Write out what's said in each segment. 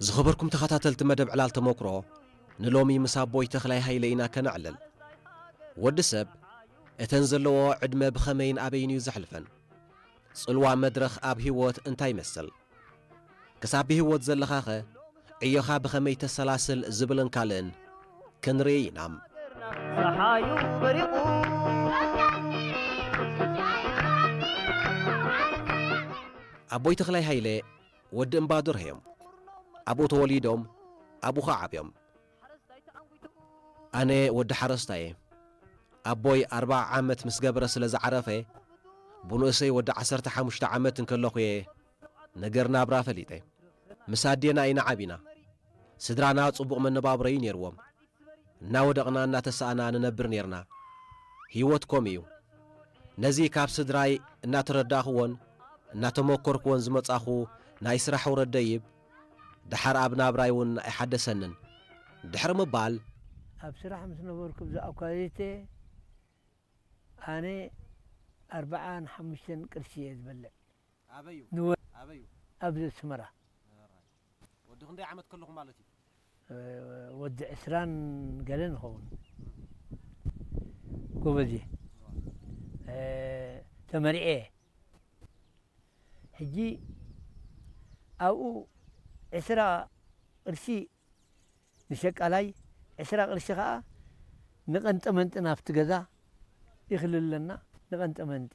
ዝኸበርኩም ተኸታተልቲ መደብ ዕላል ተመክሮ፣ ንሎሚ ምስ ኣቦይ ተኽላይ ሃይለ ኢና ከነዕልል። ወዲ ሰብ እተን ዘለዎ ዕድመ ብኸመይን ኣበይን እዩ ዘሕልፈን? ጽልዋ መድረኽ ኣብ ህይወት እንታይ ይመስል? ክሳብ ብህይወት ዘለኻኸ ዕዮኻ ብኸመይ ተሰላስል ዝብልን ካልእን ክንርኢ ኢና። ጸሓዩ በሪቑ ኣቦይ ተኽላይ ሃይለ ወዲ እምባዱር እዮም። ኣብኡ ተወሊዶም ኣብኡ ኸዓ ዓብዮም። ኣነ ወዲ ሓረስታይ እየ። ኣቦይ ኣርብዓ ዓመት ምስ ገበረ ስለ ዝዓረፈ፣ ብንእሰይ ወዲ ዓሰርተ ሓሙሽተ ዓመት እንከለኹ እየ ነገር ናብራ ፈሊጠ። ምስ ኣዴና ኢና ዓቢና። ስድራና ጽቡቕ መነባብሮ እዩ ነይርዎም። እናወደቕና እናተሳእና ንነብር ነይርና። ህይወት ከምኡ እዩ። ነዚ ካብ ስድራይ እናተረዳእኽዎን እናተመኮርክዎን ዝመጻኹ ናይ ስራሕ ውረድ ደይብ፣ ደሓር ኣብ ናብራይ እውን ኣይሓደሰንን። ድሕሪ ምባል፣ ኣብ ስራሕ ምስ ነበርኩ ብዛዕባ ኳሊቲ ኣነ ኣርብዓን ሓሙሽተን ቅርሺ እየ ዝበልዕ። ኣበዩ? ንወ-፣ ኣበዩ? ኣብዚ ኣስመራ። ኣራይ። ወዲ ክንደይ ዓመት ከለኹ ማለት እዩ? እ፣ ወዲ ዕስራን ገለን ይኸውን። ጎበዝ እየ። እ፣ ተመሪዐ እየ። ሕጂ ኣብኡ ዕስራ ቅርሺ ንሸቃላይ፣ ዕስራ ቅርሺ ኸኣ ንቐንጠመንጢ ናብቲ ገዛ ይኽልለና፣ ንቐንጠመንጢ።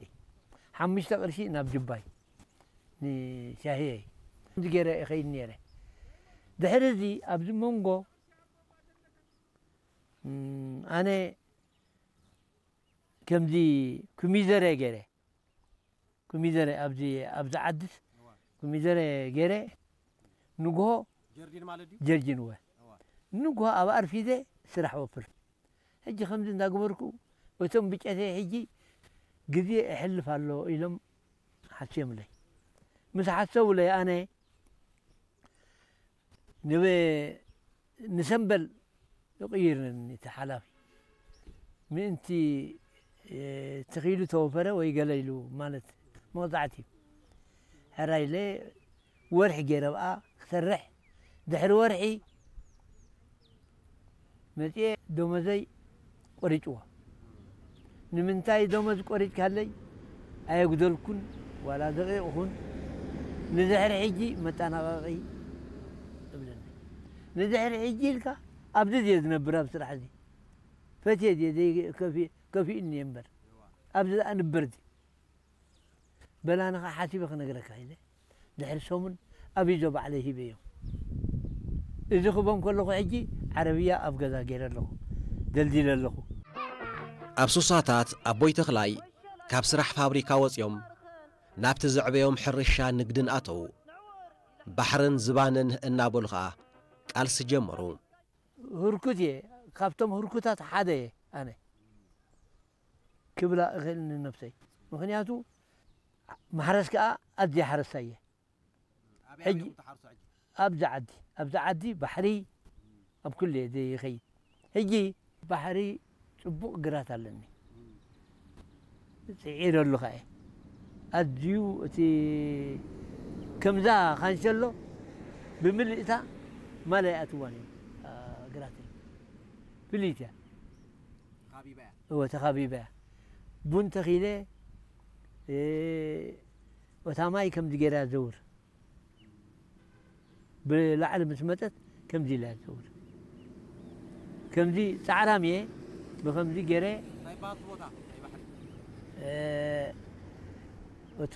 ሓሙሽተ ቅርሺ ናብ ጅባይ፣ ንሻሂየይ። ከምዚ ገይረ እኸይድ ነይረ። ድሕሪ እዚ ኣብዚ መንጎ፣ እም፣ ኣነ ከምዚ ኮሚደረ ገይረ፣ ኮሚደረ ኣብዚ፣ ኣብዚ ዓድስ ኮሚደረ ገይረ፣ ንግሆ ጀርዲን ማለት ድዩ? ጀርዲን እወ። እዋ። ንግሆ ኣብ ኣርፊደ ስራሕ ወፍር። ሕጂ ከምዚ እንዳገበርኩ፣ እቶም ብጨተይ ሕጂ ግዜ እሕልፍ ኣሎ ኢሎም ሓስዮምለይ። ምስ ሓሰቡለይ ኣነ ንበ-፣ ንሰምበል ይቕይርኒ እቲ ሓላፊ። ምእንቲ፣ እ፣ ተኺሉ ተወፈረ ወይ ገለ ኢሉ ማለት መቕጻዕቲ እዩ። ሕራይ ኢለ ወርሒ ገይረ ብኣ ክሰርሕ፣ ድሕሪ ወርሒ መጺኤ ደሞዘይ ቆሪጭዎ። ንምንታይ ደሞዝ ቆሪጭካለይ? ኣየጉደልኩን ዋላ ደቂቕ ኹን። ንድሕሪ ሕጂ መጠናቐቒ እብለኒ። ንድሕሪ ሕጂ ኢልካ ኣብዚ ድየ ዝነብር ኣብ ስራሕ እዚ? ፈትየ ድየ ደይ-፣ ከፊ-፣ ከፊኡኒ እየ እምበር። ኣብዚ ደኣ ንበር ድዩ? በላኒ ኸዓ ሓሲበ ክነግረካ ኢለ። ድሕሪ ሰሙን ኣብ ይዞ ባዕለይ ሂበዮም። እዚ ክቦም ከለኹ ሕጂ ዓረብያ ኣብ ገዛ ገይረ ኣለኹ፣ ደልዲለ ኣለኹ። ኣብ ሱሳታት ኣቦይ ተኽላይ ካብ ስራሕ ፋብሪካ ወጺኦም ናብቲ ዘዕበዮም ሕርሻ ንግድን ኣተዉ። ባሕርን ዝባንን እናበሉ ኸኣ ቃልሲ ጀመሩ። ህርኩት እየ፣ ካብቶም ህርኩታት ሓደ እየ ኣነ ክብላ እኽእል ንነብሰይ። ምኽንያቱ ማሕረስ ከኣ ኣዝየ ሓረስታይ እየ። ኣበይ ሕጂ ኣበይ ኢኹም ትሓርሱ ሕጂ? ኣብዚ ዓዲ፣ ኣብዚ ዓዲ ባሕሪ ኣብ ኩሉ እየ ዘይኸይድ። ሕጂ ባሕሪ ጽቡቕ ግራት ኣለኒ። ጽዒረሉ ከኣ እየ። ኣዝዩ እቲ ከምዛ ካንሸሎ ብምልእታ ማል ኣይኣትዋን እዩ፣ ኣ፣ ግራተይ። ፍልይቲ እያ። ተኻቢባ እያ። እወ፣ ተኻቢባ እያ። ቡን ተኺለ፣ እ፣ እታ ማይ ከምዚ ገይራ ዘውር። ብላዕሊ ምስ መጸት ከምዚ ኢላ እያ ትዘውር። ከምዚ ጻዕራም እየ፣ ብኸምዚ ገይረ፣ እንታይ ይበሃል እቲ ቦታ? ናይ ባሕሪ? እ፣ እቲ